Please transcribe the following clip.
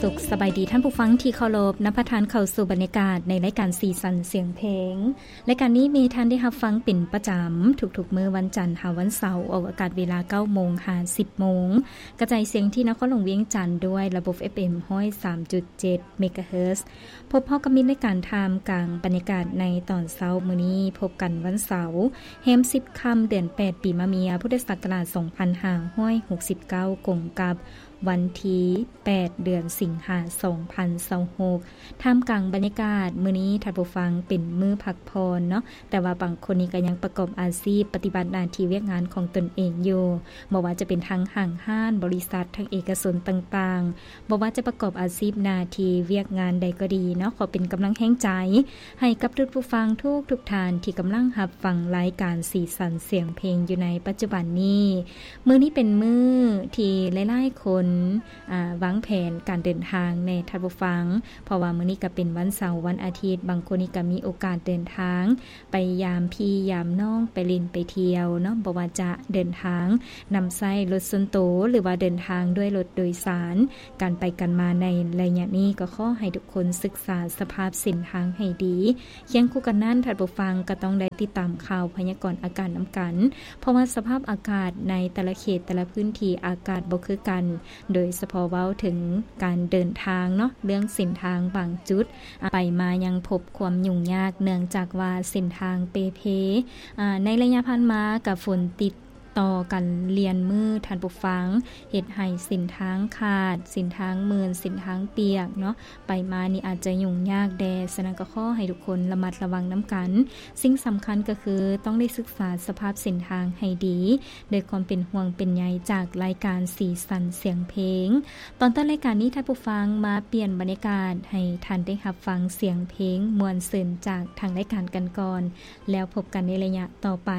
ສຸກສະບາຍດີທ່ານຜູ້ຟັງທີ່ເຄົາລົບ, ນຳພາທ່ານເຂົ້າສູ່ບັນຍາກາດໃນລາຍການສີສັນສຽງເພງ. ລາຍການນີ້ມີທ່ານໄດ້ຮັບຟັງເປັນປະຈຳທຸກໆມື້ວັນຈັນຫາວັນເສົາ, ອອກອາກາດເວລາເກົ້າໂມງຫາສິບໂມງ, ກະຈາຍສຽງທີ່ນະຄອນຫຼວງວຽງຈັນດ້ວຍລະບົບ ເອັຟເອັມ ຮ້ອຍສາມຈຸດເຈັດ ເມກາເຮີດ. ພົບພໍ້ກັບມິດລາຍການທ່າມກາງບັນຍາກາດໃນຕອນເຊົ້າມື້ນີ້, ພົບກັນວັນເສົາ ແຮມສິບຄ່ຳ ເດືອນແປດ ປີມະເມຍ ພຸດທະສັກກະລາດສອງພັນຫ້າຮ້ອຍຫົກສິບເກົ້າ ກົງກັບ ວັນທີແປດ ເດືອນສິງຫາ ສອງພັນຊາວຫົກ. ທ່າມກາງບັນຍາກາດມື້ນີ້ ທ່ານຜູ້ຟັງ ເປັນມື້ພັກຜ່ອນເນາະ, ແຕ່ວ່າບາງຄົນນີ້ກໍຍັງປະກອບອາຊີບ ປະຕິບັດໜ້າທີ່ວຽກງານຂອງຕົນເອງຢູ່, ບໍ່ວ່າຈະເປັນທາງຫ້າງຮ້ານ, ບໍລິສັດ, ທາງເອກະຊົນຕ່າງໆ, ບໍ່ວ່າຈະປະກອບອາຊີບໜ້າທີ່ວຽກງານໃດກໍດີເນາະ, ຂໍເປັນກຳລັງແຮງໃຈ ໃຫ້ກັບທ່ານຜູ້ຟັງທຸກໆທ່ານທີ່ກຳລັງຮັບຟັງລາຍການສີສັນສຽງເພງຢູ່ໃນປັດຈຸບັນນີ້. ມື້ນີ້ເປັນມື້ທີ່ຫຼາຍໆຄົນ ອາ ວາງແຜນການເດີນທາງແດ່ທ່ານຜູ້ຟັງ, ເພາະວ່າມື້ນີ້ກໍເປັນວັນເສົາ, ວັນອາທິດ, ບາງຄົນນີ້ກໍມີໂອກາດເດີນທາງໄປຢາມພີ່ຢາມນ້ອງ, ໄປຫຼິ້ນໄປທ່ຽວເນາະ, ບໍ່ວ່າຈະເດີນທາງນຳໃຊ້ລົດສ່ວນໂຕ ຫຼືວ່າເດີນທາງດ້ວຍລົດໂດຍສານ. ການໄປກັນມາໃນໄລຍະນີ້ ກໍຂໍໃຫ້ທຸກຄົນສຶກສາສະພາບເສັ້ນທາງໃຫ້ດີ. ຄຽງຄູ່ກັນນັ້ນ, ທ່ານຜູ້ຟັງກໍຕ້ອງໄດ້ຕິດຕາມຂ່າວພະຍາກອນອາກາດນຳກັນ, ເພາະວ່າສະພາບອາກາດໃນແຕ່ລະເຂດ, ແຕ່ລະພື້ນທີ່ ອາກາດບໍ່ຄືກັນ, ໂດຍສະເພາະເວົ້າເຖິງການເດີນທາງເນາະ, ເລື່ອງເສັ້ນທາງບາງຈຸດ ອາ ໄປມາຍັງພົບຄວາມຫຍຸ້ງຍາກ ເນື່ອງຈາກວ່າເສັ້ນທາງເປ່ເພ. ອາ ໃນໄລຍະຜ່ານມາກໍຝົນຕິດ ຕໍ່ກັນລຽນມື້, ທ່ານຜູ້ຟັງ, ເຮັດໃຫ້ເສັ້ນທາງຂາດ, ເສັ້ນທາງມື່ນ, ເສັ້ນທາງປຽກເນາະ, ໄປມານີ້ອາດຈະຫຍຸ້ງຍາກແດ່. ສະນັ້ນກໍຂໍໃຫ້ທຸກຄົນລະມັດລະວັງນຳກັນ. ສິ່ງສຳຄັນກໍຄືຕ້ອງໄດ້ສຶກສາສະພາບເສັ້ນທາງໃຫ້ດີ, ດ້ວຍຄວາມເປັນຫ່ວງເປັນໃຍຈາກລາຍການສີສັນສຽງເພງ. ຕອນຕົ້ນລາຍການນີ້, ທ່ານຜູ້ຟັງ, ມາປ່ຽນບັນຍາກາດໃຫ້ທ່ານໄດ້ຮັບຟັງສຽງເພງມ່ວນຊື່ນຈາກທາງລາຍການກັນກ່ອນ, ແລ້ວພົບກັນໃນໄລຍະຕໍ່ໄປ.